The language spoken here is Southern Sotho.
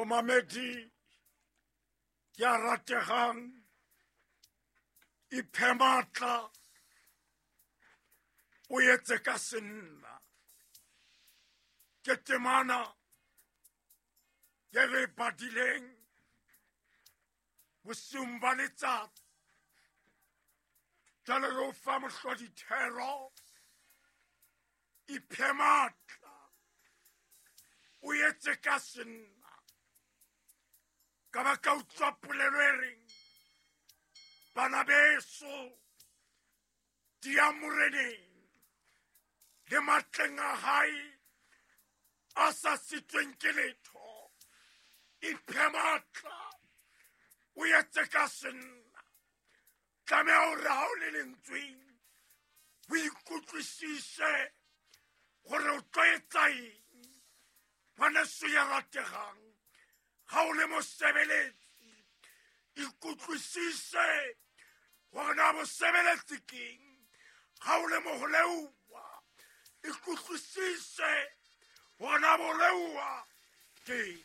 Momamedi ya rategang, iphe matla, o etse ka senna. Ke temana ye re e badileng bosiung ba letsatsi. Jwale re o fa mohlodithero, iphe matla, o etse ka senna. Ka ba ka utlwa polelo e reng, bana beso, di ya moreneng le matleng a hae a sa sitsweng ke letho. Iphe matla, o etse ka senna. Tlameha hore ha o le lentsweng o ikutlwisise gore o tlo etsa eng. Ngwaneso ya rategang, ha o le mosebeletsi, ikutlwisise gore na bosebeletsi keng. Ha o le moholeuwa, ikutlwisise gore na boleuwa keng.